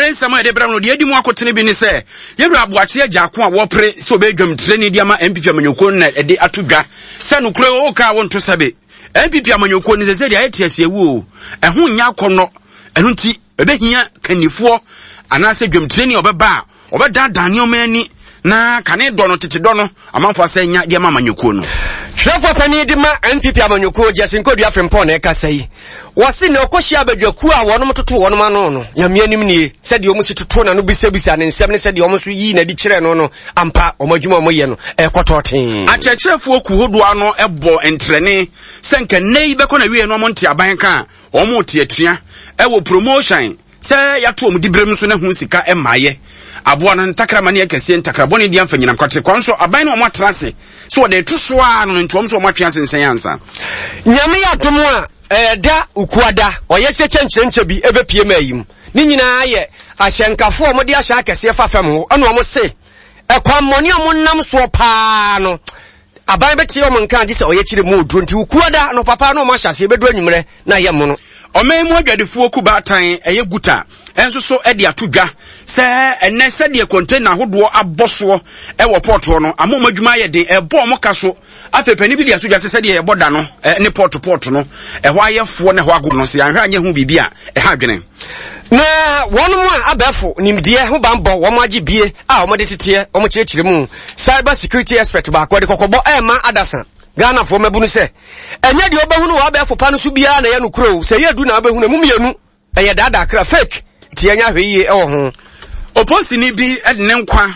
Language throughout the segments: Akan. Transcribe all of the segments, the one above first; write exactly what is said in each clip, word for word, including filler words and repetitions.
Anwummerɛ nsɛm a yɛde brɛ no deɛ edi mu akotene bi ne sɛ yɛwura Aboakye Agyarko a wɔpere sɛ ɔbɛyɛ dwamtirani de ama N P P amanyɔkuo no na ɛde ato dwa sɛ nokorɛ o ka wo nto sɛbe N P P amanyɔkuo no sɛ sɛ deɛ ayɛ te aseɛ wu o, ɛho nyɛ akɔnnɔ. Ɛno nti ɛbɛhia kannifoɔ anaasɛ dwamtirani a ɔbɛba a ɔbɛdaadaa nneɛma ani na kane dɔ no, tete dɔ no, amanfoɔ asɛ nya de ama amanyɔkuo no. Twerɛfoɔ panin de ma N P P amanyɔkuo, Justin Kodua Frimpong, na ɛkasa yi. Wɔse na ɔkɔhyia abadwakuo a wɔnom toto wɔnom ano no, Nyame anim nie, sɛdeɛ ɔmo si toto na no bisabisa ne nsɛm ne sɛdeɛ ɔmo nso yii n'adi kyerɛ no no ampa ɔmo adwuma a ɔmo yɛ no ɛkɔtɔ tee. Akyerɛkyerɛfoɔ ku hodoɔ ano bɔ ntrɛne sɛ nka nnɛ yi bɛkɔ na wie no ɔmo nte aban ka a ɔmo te atua ɛwɔ promotion sɛ yɛato ɔmo diberem nso na ho sika mmaayɛ aboa no ntakrama ne akɛseɛ ntakrabɔne di amfa nyinam kwatere kwan so aban no ɔmo atena ase so wɔde to so a no nti ɔmo nso ɔmo atwe ase nsɛn ansa. Nyame yɛ adom a ɛda Ukuada ɔyɛ kyerɛkyerɛ nkyerɛnkyɛ bi ɛbɛpie ma ayi mu ne nyinaa yɛ ahyɛnkafoɔ a wɔde ahyɛ akɛseɛ fa fam ho, ɛna wɔn se ɛkwammɔne a wɔnam soɔ paa no, aban bɛtie wɔn nka gye sɛ ɔyɛ kyerɛ mu oduro. Nti Ukuada no papa na wɔn ahyɛ aseɛ bɛduru anwummerɛ na ayɛ mono. Ɔman mu adwadifoɔ ku baatan ɛyɛ GUTA ɛnso so ɛde ato dwa sɛ ɛnɛ sɛdeɛ container ahodoɔ abɔ soɔ ɛwɔ port hɔ no ama ɔmo adwuma ayɛ den, ɛbɔ ɔmo ka so. Afei panin bi de ato dwa sɛ sɛdeɛ yɛbɔ da no ne port port no ɛhɔ ayɛfoɔ ne ɛhɔ ago no sɛ yɛanhwɛ anyɛ ho biribi a ɛha adwene. Na wɔn mu a abɛɛfo nimdeɛ ho banbɔ wɔn agye bie a wɔde teteɛ wɔn kyerɛkyerɛ mu, cyber security expert baako de kɔkɔbɔ ɛɛma adasa Ghanafoɔ mabunu sɛ ɛnyɛ deɛ wobɛhunu wɔ abɛɛfo pa no so biara na ɛyɛ no kuro. Sɛ ɛyɛ du na wobɛhunu mu mmienu ɛyɛ daadaa kra, fake, nti yɛnyɛ ahwɛ yie ɛwɔ ho. Oposini bi de ne nkwa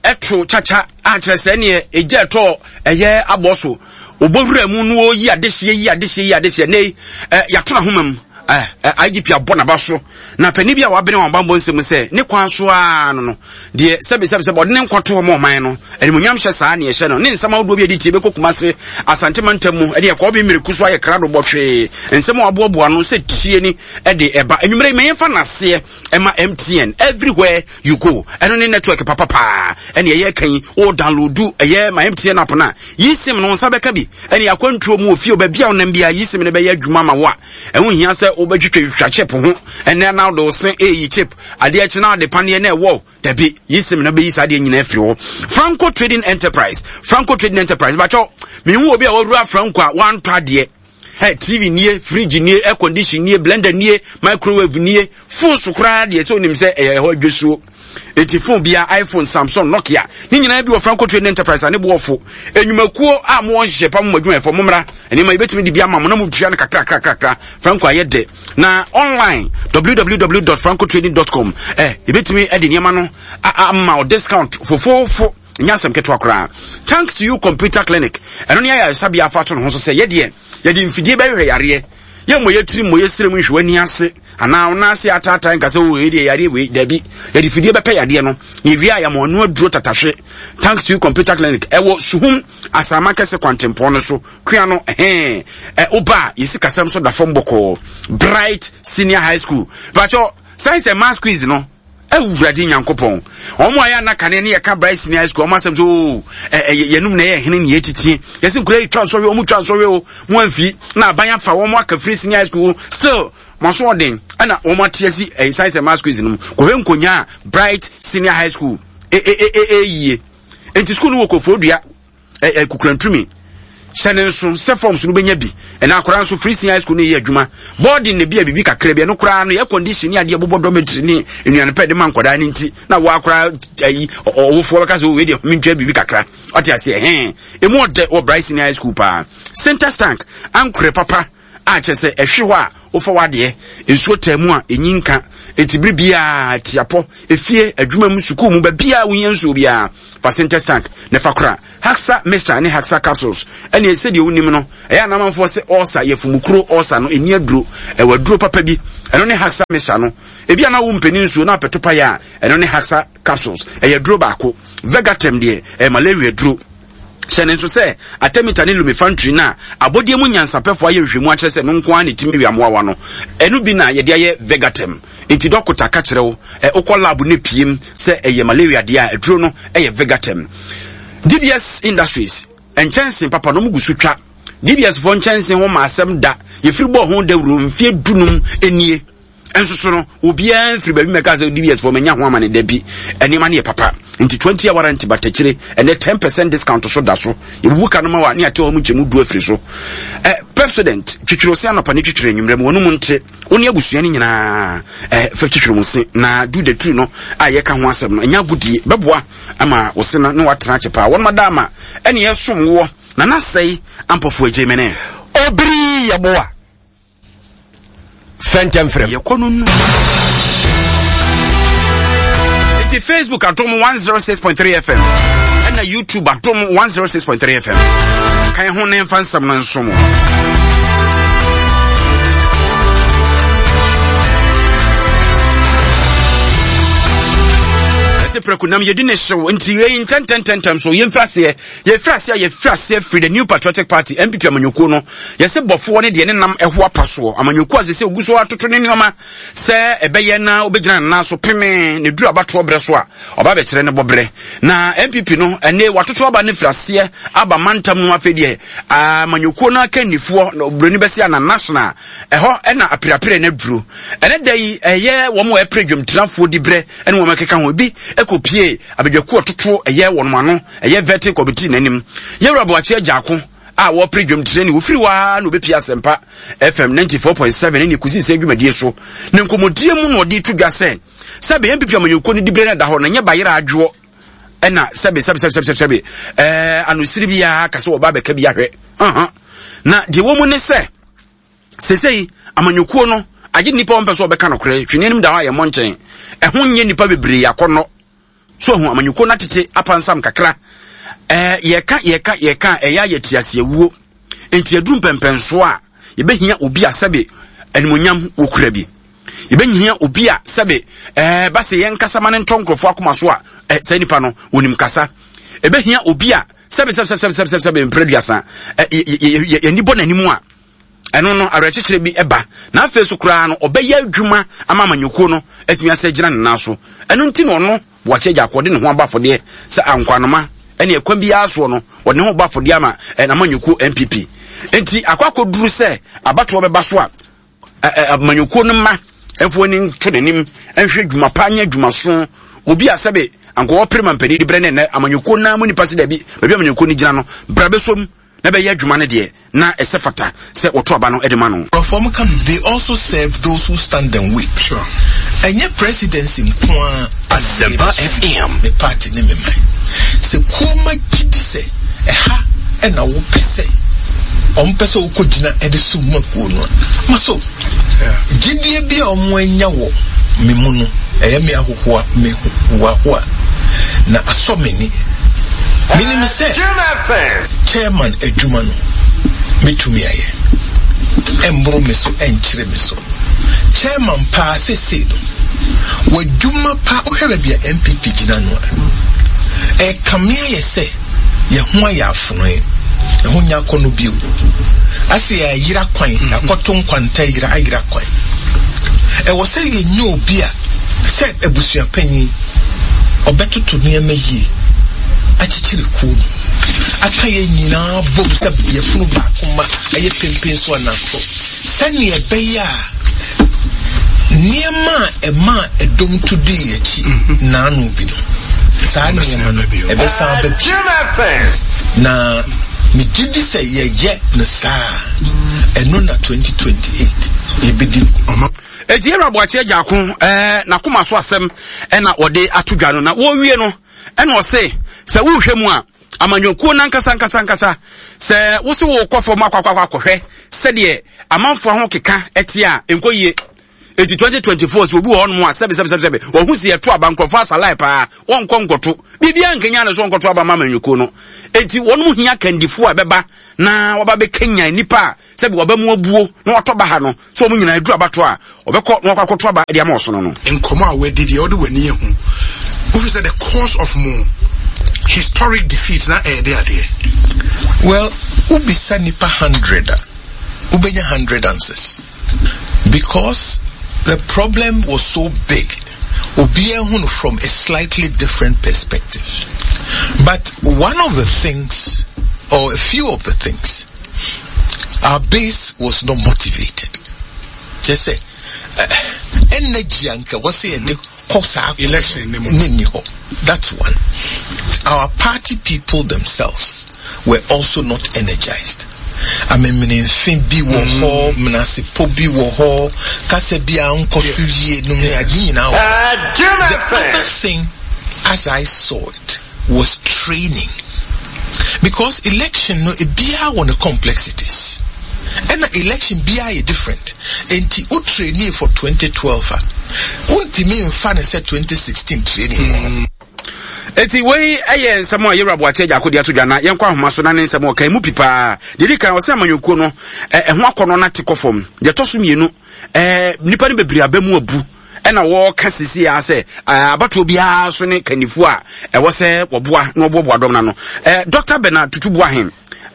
ɛto kyakya akyerɛ sɛ neɛ ɛgya ɛtɔ ɛyɛ abɔ so ɔbɔwura mu no ɔyi adehyeɛ yi adehyeɛ yi adehyeɛ ne ɛ yɛato n'ahoma mu ɛ ɛ I G P abɔ n'aba so na panin bi a wabene wɔn bambɔ nsɛm sɛ ne kwan so ara no no deɛ sɛbi sɛbi sɛbi ɔde ne nkwa to hɔ ma ɔman no animuonyam hyɛ saa ne ɛhyɛ no ne nsɛm ahodoɔ bi a ɛde tie bɛkɔ Kumase Asante mantam mu ɛde ɛkɔɔ bi mmireku so ayɛ krado bɔtwee nsɛm a waboaboa no sɛ tie ni ɛde ɛba anwummerɛ yi ma yɛmfa n'aseɛ ɛma M T N, everywhere you go, ɛno ne network papapaa ɛne ɛyɛ kan o. Download ɛyɛ ma M T N app no a yi SIM no nsa bɛka bi ɛne akwantuo mu ofie baabi a wonam bi a yi SIM no bɛyɛ adwuma ma wo a ɛho hia sɛ wobɛtwitwa chip ho ɛnɛ na wode wo se ɛyi chip adeɛ akyi na wode paneɛ na ɛwɔ dabi yi SIM no bɛyi saa adeɛ nyinaa afiri hɔ. Franco Trading Enterprise, Franco Trading Enterprise, bakyɛw mehu obi a wawura Franco a wantɔ adeɛ. Hey, T V nie, fridge nie, air condition nie, blender nie, microwave nie, phone so koraa deɛ sɛ onim sɛ ɛyɛ ɛhɔ adwasuo. Eti phone bia, iPhone, Samsung, Nokia ne nyinaa bi wɔ Franco Trading Enterprise a ne boɔfo enyumakuo a mo wɔn hyehyɛ pa mo adwumayɛfo mo mmra nneɛma yɛbɛtumi de bi ama mo na mo tua no kakra kakra kakra. Franco ayɛ dɛ na online w w w dot francotrading dot com ɛ yɛbɛtumi de nneɛma no ama o discount fofoofo, nyɛ asɛm ketewa koraa. Thanks to You Computer Clinic, ɛno ne ayɛ ayɛsabea afa ato ne ho so sɛ yɛdeɛ yɛde mfidie bɛhwehwɛ yareɛ, yɛmmɔ yɛtiri mmɔ yɛsrɛ mu nhwɛ w'ani ase anaa wo nan ase ataatae nka sɛ o ɛdeɛ yareɛ wei. Dabi, yɛde fidie bɛpɛ yadeɛ no na ewie a yɛma ɔno aduro tatahwe. Thanks to You Computer Clinic ɛwɔ Suhum Asama Kɛse kwantempɔn no so kua no ɛhɛn ɛ woba a yɛsi kasɛm so da fam bɔkɔɔ. Bright Senior High School, bakyɛ Science and Maths quiz no, Awurade Nyankopɔn, wɔn a yɛ anakane ne yɛka Bright Senior High School wɔn asɛm so oo ɛ ɛ yɛnum na ɛyɛ hene ne yɛtitie yɛsi nkura yi twa nsɔhwɛ, wɔn twa nsɔhwɛ o, mo amfi na aban afa wɔn aka firi senior high school, still mo aso ɔden ɛna wɔn ate asi ɛyɛ Science and Maths quiz no mu kɔhwɛ nkonya a Bright Senior High School ɛ ɛ ɛ ɛ yie. Nti school no wɔ Koforidua ɛ ɛ Kukurantumi. Hyɛ ne nso sɛ forms no bɛnya bi ɛna akwaraa nso free senior high school no yɛ adwuma boarding na bi a biribi kakra bi ɛno koraa no yɛ condition ne adeɛ bobɔ dormitory ne nnuane pɛ de ma nkwadaa no. Nti na wɔ akwaraa ayi ɔwofoɔ bɛka sɛ wei deɛ mentwa biribi kakra ɔte aseɛ hɛn emu ɔdɛ wɔ Bright Senior High School paa. Center stank ankorɛ papa a kyerɛ sɛ ɛhwe hɔ a wofa w'adeɛ nsuo taa mu a ɛnyi nka eti bere biara tiapɔ efie adwuma mu sukuu mu baabiara wohia nsuo biara fa center stank na fa kora. Haxa Mixture ne Haxa Capsules ɛne sɛdeɛ wonim no ɛyɛ anamanfoɔ sɛ ɔɔsa yɛfumukuro ɔɔsa no ɛni aduro, ɛwɔ aduro papa bi, ɛno ne Haxa Mixture no. Ebi a na wo mpɛni nsuo na apɛto pa yɛ a ɛno ne Haxa Capsules, ɛyɛ aduro baako. Vegatem deɛ ɛyɛ malaria duro. Hyɛ ne nso sɛ artemether ne lumefantrine no a abɔdeɛ mu nyansapɛfoɔ ayɛ nhwehwɛmu akyerɛ sɛ no nko ara ne tumi wiamoawa no, ɛno bi na yɛde ayɛ Vegatem. Nti dɔkota ka kyerɛ wo ɛ wokɔ lab ne piem sɛ ɛyɛ malaria deɛ a aduro no ɛyɛ Vegatem. D B S Industries nkyɛnse papa no ɔmo gu so twa. D B S foɔ nkyɛnse ho ma asɛm da yɛfiri bɔɔ ho dawuro mfeɛ dunum nie. Nso so no, obiara mfiri baabi mɛka sɛ D B S fɔ manya ho amane da bi. Nneɛma no yɛ papa. Nti twenty hour warranty batakyire, ɛnɛ ten percent discount so da so. Yɛbubu ka no ma wa ne ate hɔ mu nkyɛmu du afiri so. Ɛ Pepsodent, twitwiri ose anɔpa ne twitwiri anwummerɛ mu, wɔn mu nte wo ne abusua no nyinaa ɛ fɛ twitwiri mu se na do the two no a yɛka ho asɛm no, ɛnyɛ agodie, bɛboa ama wo se no ne watena akye paa. Wɔn da ama ɛne yɛsom woɔ na nasɛe ampɔfo agye mene. Obiri yɛboa fɛntɛm frɛm. Yɛkɔ no nu nti Facebook Adom one oh six point three F M ɛna YouTube Adom one oh six point three F M kan ho ne mfa nsɛm no nso mo. Ɛsɛ prɛko nam yɛdi ne hyew nti yɛyi ntɛntɛntɛntɛm so. Yɛmfiri aseɛ, yɛfiri aseɛ a yɛfiri aseɛ firi the New Patriotic Party, N P P amanyɔkuo no. Yɛsɛ bɔfoɔ ne deɛ ne nam ɛho apa soɔ amanyɔkuo a sɛ sɛ ogu so atoto ne nneɛma sɛ ɛbɛyɛ na wobɛgyina ne nan so peme ne duru abatoɔ berɛ so a ɔba bɛkyerɛ ne bɔberɛ. Na N P P no, ɛne watoto aba no firi aseɛ aba mantam no. Afei deɛ amanyɔkuo no akannifoɔ na oburoni bɛsi ana national ɛhɔ ɛna aperapere no aduro. Ɛnɛ da yi ɛyɛ wɔn a ɛpere dwamtirafoɔ di berɛ ɛne wɔn ɛkeka ho bi ɛkɔpie abadwakuo ɔtoto ɛyɛ wɔn ano ɛyɛ vetting committee n'anim. Yɛwura Boakye Agyarko a wɔpere dwamtirani wofiri hɔ ara na obɛpie Asɛmpa F M ninety-four point seven ne kɔsi sɛ adwumadie so ne nkɔmmɔdie mu na ɔde to dwa sɛ sɛbe N P P amanyɔkuo no diberɛ no da hɔ na nyɛ bayerɛ adwoɔ ɛna sɛbe sɛbe sɛbe sɛbe sɛbe ɛɛ anosiri biara ka sɛ wɔba abɛka bi ahwɛ. Ɔhɔn na deɛ wɔ mu ne sɛ sesei amanyɔkuo no agye nnipa wɔn pɛ sɛ ɔbɛka nokorɛ twene anim da hɔ a yɛmmɔ nkyɛn ɛho nyɛ nnipa bebree akɔnnɔ so ahu amanyɔkuo no atete apansam kakra. ɛɛ yɛka yɛka yɛka a ɛyɛ ayɛ te aseɛwuo nti aduru mpɛmpɛnsoɔ a yɛbɛhia obi a sɛbe animonyam wɔkura bi, yɛbɛhia obi a sɛbe ɛɛ ba sɛ yɛn kasa ma ne ntɔ nkurɔfoɔ akoma so a ɛ saa nipa no wɔnim kasa. Ɛbɛhia obi a sɛbe sɛbe sɛbe sɛbe sɛbe sɛbe mpere duasa ɛ yɛ yɛ yɛni bɔ n'anim a ɛno no awerɛkyekyerɛ bi ɛba na afei so koraa no ɔbɛyɛ adwuma ama amanyɔkuo no atumi asɛ gyina ne nan so. Ɛno nti na ɔno Boakye Agyarko ɔde ne ho aba afɔdeɛ sɛ ankwanoma ɛne ɛkwan biara soɔ no ɔde ne ho ba afɔdeɛ ama n'amanyɔkuo N P P. Nti akɔ akɔduru sɛ abatoɔ bɛba so a amanyɔkuo no mma ɛmfa ani nto n'anim nhwɛ adwuma pa nyɛ adwumaso obi a sɛbe anka wɔpere ma mpanin de brɛ ne nnɛ amanyɔkuo naa mu nipa sɛ dabi baabi amanyɔkuo no gyina no bra bɛsom na bɛyɛ adwuma no deɛ na ɛsɛ fata sɛ wɔto aba no de ma no. Nkurɔfoɔ ka they also serve those who stand and wait. Sure. Ɛnyɛ presidency nko ara. Asempa F M. Me party ne me man. Sɛ kuoma gye di sɛ ɛha ɛna wopɛ sɛ ɔmo pɛ sɛ wokɔ gyina ɛde so mu akuo no a ma so gyidie bi a ɔmo anya wɔ me mu no, ɛyɛ me ahohoa, me hoahoa na asɔ m'ani. Menim sɛ chairman adwuma no metumi ayɛ, ɛmboro me so, ɛnkyerɛ me so. Chairman paa sesei no w'adwuma paa, wohwɛ baabi a N P P gyina no a, ɛkame ayɛ sɛ yɛho ayɛ afonoe, ɛho nya akɔ no bio ase yɛayera kwan, yɛakɔto nkwanta yera ayera kwan. Ɛwɔ sɛ yɛnyɛ obi a sɛ abusuapanyin ɔbɛtoto nneɛma yie, akyekyere kuo no, aka yɛn nyinaa bom sɛ yɛfunu baako ma ɛyɛ pempen so anaso sɛnea ɛbɛyɛ a nneɛma a ɛma ɛdɔm to dii akyi naano bi no, saa nneɛma no ɛbɛsan aba bio. Na megye di sɛ yɛyɛ no saa, ɛno na twenty twenty-eight yɛbɛdi nkonim. Eti yɛwura Boakye Agyarko ɛɛ n'akoma so asɛm ɛna wɔde ato dwa no na wɔrewie no ɛna ɔse sɛ wohwɛ mu a amanyɔkuo nankasa nkasa nkasa sɛ wosi wokɔ fam akɔ akɔ akɔhwɛ sɛdeɛ amanfoɔ ho keka ɛte a nkɔ yie. Eti twenty twenty-four sɛ obi wɔ hɔnom a sɛbi sɛbi sɛbi sɛbi wɔn si ɛto aba nkurɔfoɔ asalae paa wɔnkɔ nkɔto biribiara nkenya ne so wɔnkɔto aba ma amanyɔkuo no. Eti wɔn mu hia kandifoɔ a ɛbɛba na wɔba bɛkenya nipa a sɛbi wɔba mu abuo na wɔtɔ ba ha no sɛ wɔn nyinaa aduru abato a wɔbɛkɔ na wɔkɔ akɔto aba de ama ɔsono no. Nkɔmɔ a wɔadi deɛ ɔde w'ani ehu wofi sɛ the cause of mo historic defeat na ɛyɛ de adeɛ. Well, wobisa nipa hundred a, wobɛnya hundred answers because the problem was so big. Obiara hu no from a slightly different perspective. But one of the things, or a few of the things, our base was not motivated. Just say, Energy anka wɔ sɛ yɛde kɔ saa election ne mu. Ne ni hɔ. That's one. Our party people themselves were also not energized. Amemenemfe bi wɔ hɔ, menasepɔ bi wɔ hɔ, kasa bi a nkɔ so yie nom ne ade nyinaa wɔ hɔ. The other thing, as I saw it, was training. Because election no, ebiara wɔ ne complexities. Ɛna election biara yɛ different. Enti wo training for twenty twelve a, wontumi mfa ne sɛ twenty sixteen training wɔ hɔ. Eti wei ɛyɛ nsɛm a yɛwura Boakye Agyarko de ato dwa, na yɛnkɔ ahoma so na ne nsɛm a ɔka emu pi paa. Deɛ di kan, ɔsɛ amanyɔkuo no ɛ ɛho akɔnɔ no ate kɔ fam. Deɛ ɛtɔ so mmienu, ɛɛ nipa no bebree aba mu abu, ɛna wɔɔka sisi a sɛ ɛɛ abatoɔ biara so ne kannifoɔ a ɛwɔ sɛ wɔboa na wɔboaboa dɔm n'ano. ɛɛ Doctor Bernard Tutu Boahen,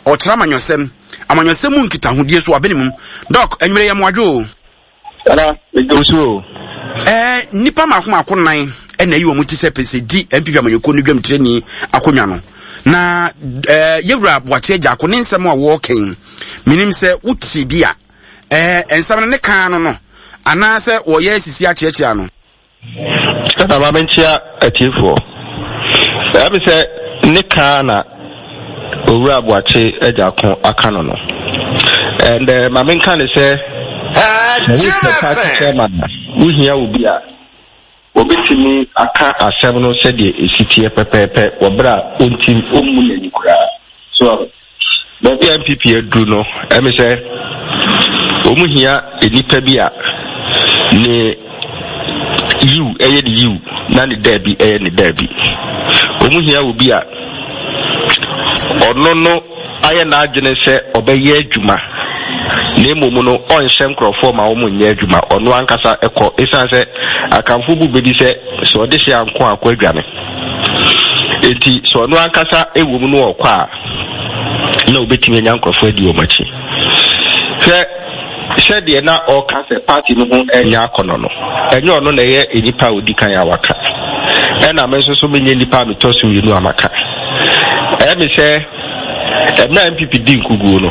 ɔkyerɛ amanyɔsɛm amanyɔsɛm mu nkitahodie so wabene mu. Doc, anwummerɛ yɛ mmoadwo o. Nana, medo so o. Ɛɛ nipa mako mako nan ɛna ayi wɔn ti sɛ pɛsɛ di N P P amanyɔkuo no dwam tirani akonnwa no, na ɛɛ yɛwura Boakye Agyarko ne nsɛm a wɔɔkɛn, menim sɛ wote bi a, ɛɛ nsɛm no ne kan no no anaasɛ wɔyɛ sisi akyeakyea no. Nana, ma menkyea atiefoɔ. Ɛyɛ me sɛ ne kaa na Owura Boakye Agyarko aka no no. And uh, ma menka ne sɛ sɛ wopɛ party chairman a, wohia obi a obɛtumi aka asɛm no sɛdeɛ ɛsi teɛ pɛpɛɛpɛ wɔ berɛ a ɔntim ɔmmu n'ani koraa so. Baabi a N P P aduru no, ɛme sɛ wɔn hia nnipa bi a ne yiw ɛyɛ ne yiw na ne daabi ɛyɛ ne daabi. Wɔn hia obi a ɔno no ayɛ n'adwene sɛ ɔbɛyɛ adwuma, na mmom no ɔnhyɛ nkurɔfoɔ ma wɔn nyɛ adwuma. Ɔno ankasa ɛkɔ, ɛsiane sɛ Akamfo bu bɛbi sɛ sɛ ɔde hyɛ anko akɔ adwane, eti sɛ ɔno ankasa ɛwɔ mu no ɔkɔ a, na obɛtumi anya nkurɔfoɔ adi wɔn akyi. Hwɛ sɛdeɛ na ɔka sɛ party no ho ɛnyɛ akɔnɔ no, ɛnyɛ ɔno na ɛyɛ nipa a odi kan a waka, ɛna me nso so menyɛ nipa a metɔ so mmienu a maka. Ɛyɛ me sɛ ɛmɛ N P P di nkuguo no,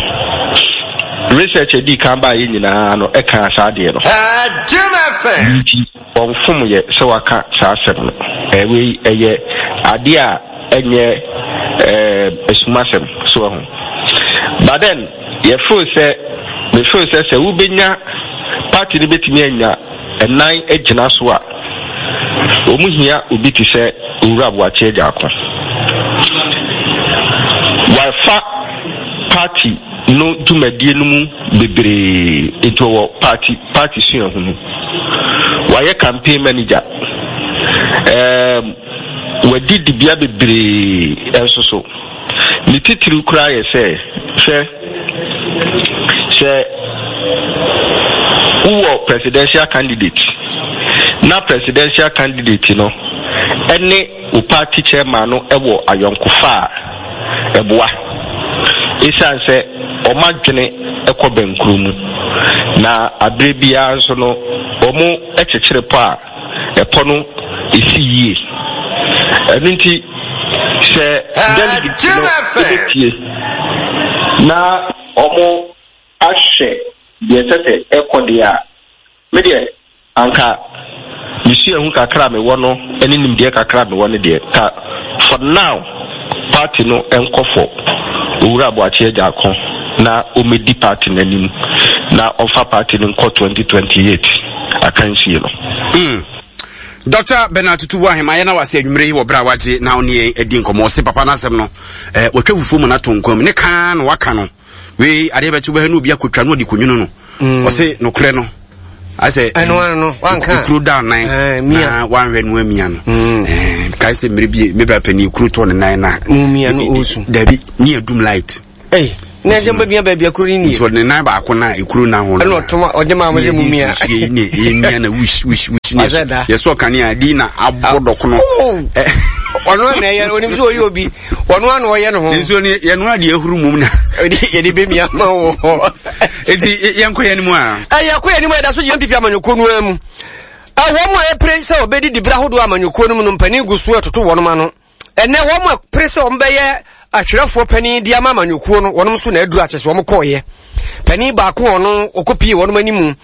research adi kan baayɛ nyinaa no ɛka saa adeɛ no, nti ɔnfom yɛ sɛ waka saa asɛm no. Ɛwei ɛyɛ adeɛ a ɛnyɛ ɛɛ esumasɛm so ɛho, but then yɛfeel sɛ mefeel sɛ sɛ wobɛnya party no bɛtumi anya ɛnan agyina so a, wɔn hia obi te sɛ Owura Boakye Agyarko. Wafa party no dwumadie no mu bebree, nti ɔwɔ party party suahunu. Wayɛ campaign manager, ɛɛm wadi dibea bebree nso so. Ne titiriw koraa yɛ sɛ hwɛ sɛ wowɔ presidential candidate na presidential candidate no ɛne wo party chairman no ɛwɔ ayɔnkofa a ɛboa, ɛsiane sɛ ɔmo adwene ɛkɔ bɛnkuro mu, na abere biara nso no ɔmo ɛkyekyere pɔ a ɛpɔ no esi yie. Ɛno nti sɛ delegate no ɛbɛtie na ɔmo ahwɛ deɛ ɛsɛ sɛ ɛkɔ deɛ a, me deɛ anka mesua hu kakra a mewɔ no ne nimdeɛ kakra a mewɔ no deɛ, ka for now party no nkɔ fɔ Owura Boakye Agyarko na ɔmmɛdi party no anim na ɔmfa party no nkɔ twenty twenty-eight akansie no. Mm. Doctor Bernard Tutu Boahema, yɛ na wase anwummerɛ yi wɔ berɛ a wagye na ɔne yɛn adi nkɔmmɔ. Ɔse papa no asɛm no, eh, wɔtwa fufuo mu no ato nkwa mu ne kaa na waka no. Wei adeɛ bɛkye wobɛhɛ no, obi akɔtwa no ɔde kɔnwunu no. mm. Ɔse nokorɛ no asɛ ɛno ano no wanka kuro da nan Eh, mia. na wanhwɛ no amia no. Mm. Eh, kae sɛ mmerɛ bi mebra pani kuro tɔ ne nan na Mu mia no ɔɔsu. Dabi, ne adum light. Ei, na ɛsɛ mbɛmia baabi akuro no nie. Nti ɔde ne nan baako na ekuro na ho no. Ɛna ɔtɔma ɔgye maa mo sɛ mu mia. Ne emia na wish wish wish ne. Ɔsɛ da. Yɛsɔ kanea di na abɔ dɔkono. Oh! Ɔno ana ɛyɛ, onim sɛ ɔyɛ obi, ɔno ana ɔyɛ ne ho. Nsuo no yɛnoa adeɛ ahuru mum na. Yɛde bɛmia ma wɔ. Enti yɛnkɔ yɛn mu a. Ɛyɛ kɔ yɛn anim a, yɛda so gyina N P P amanyɔkuo no ara mu. Wɔn mu a ɛpere sɛ wɔbɛdi dibere ahodoɔ amanyɔkuo no mu no, mpanin gu so ɛtoto wɔn ano. Ɛnɛ wɔn mu a pere sɛ wɔn bɛyɛ atwerɛfoɔ panin di ama amanyɔkuo no, wɔn nso na aduru akyɛ sɛ wɔn kɔɔyɛ. Panin baako a ɔno ɔkɔpie wɔn anim,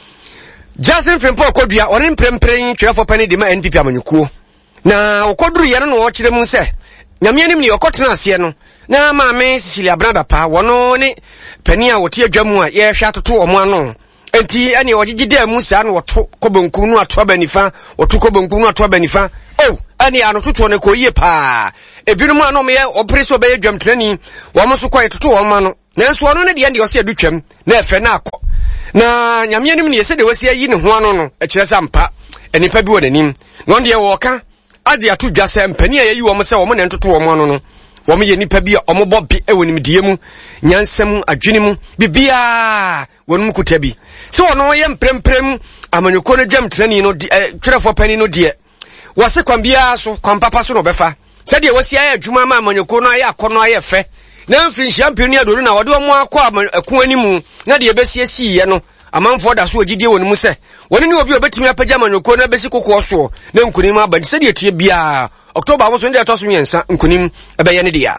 Justin Frimpong Kodua, ɔne mprempren twerɛfoɔ panin de ma N P P amanyɔkuo. Na ɔkɔduruyɛ no na ɔkyerɛ mu sɛ Nyame anim ne ɔkɔtena aseɛ no na Maame Cecilia Abena Dapaah, wɔno ne panin a wɔte adwa mu a yɛhwɛ atoto ɔmo ano. Enti ɛne ɔgyegye daa mu saa na wɔto kɔ benkum no ato aba nifa, wɔto kɔ benkum no ato aba nifa. O ɛne anototoɔ no kɔ yie paa. Ebinom a na ɔmoyɛ ɔpere sɛ ɔbɛyɛ dwamtenani, wɔn nso kɔ yɛtoto wɔn ano. Nanso ɔno ne deɛ deɛ ɔsɛ adu twam na ɛfɛ na akɔ. Na Nyame anim ne sɛdeɛ wasi ayi ne ho ano no, ɛkyerɛ sɛ ampa nnipa bi wɔ n'anim. Na ɔno deɛ wɔɔka ade ato dwa sɛ mpanin a yɛyi wɔn sɛ wɔn na ntoto wɔn ano no, wɔn yɛ nnipa bi a wɔbɔ bi wɔ nimdeɛ mu, nyansa mu, adwene mu, biribiara wɔn mu kuta bi. Sɛ ɔno yɛ mprempren amanyɔkuo no dwamtenani no, twerɛfoɔ panin no deɛ, wɔse kwan biara so, kwan papa so na ɔbɛfa. Sɛdeɛ wɔsi ayɛ adwuma ama amanyɔkuo no ayɛ akɔnnɔ ayɛ fɛ na mfirinhyia mpem ne aduonu na wɔde wɔn akɔ ɛko animu na deɛ ɛbɛsiesiiɛ no, amanfoɔ da so wɔ gyidie wɔ ne mu sɛ wɔne ne obi a obɛtumi apagya amanyɔkuo no abɛsi kokoɔ soɔ na nkonim aba. Nti sɛdeɛ tie biara, October aboso no deɛ ɛtɔ so mmiɛnsa, nkonim ɛbɛyɛ ne dea.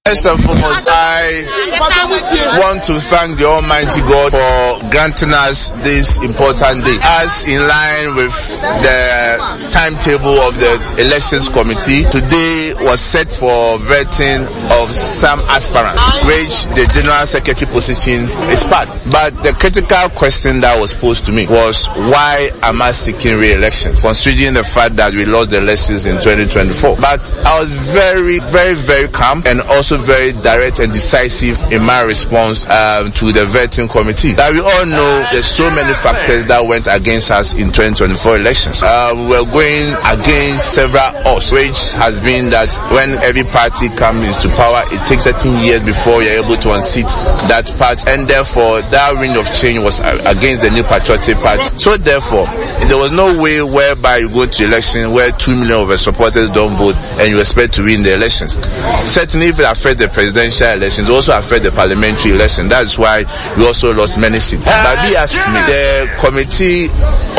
First and foremost, I want to thank the Almighty God for granting us this important day. As in line with the timetable of the elections committee, today was set for vetting of some aspirants, which the general secretary position is part. But the critical question that was posed to me was, why am I seeking re-elections, considering the fact that we lost the elections in twenty twenty-four? But I was very, very, very calm and also very direct and decisive in my response um, to the vetting committee. That we all know there's so many factors that went against us in twenty twenty-four elections. Uh, we were going against several odds, which has been that when every party comes into power, it takes thirteen years before you're able to unseat that party, and therefore that wind of change was against the New Patriotic Party. So therefore, there was no way whereby you go to election where two million of the supporters don't vote and you expect to win the elections. Certainly, if it affects the presidential elections, it also affects the parliamentary election. That's why we also lost many seats. But be as me, the committee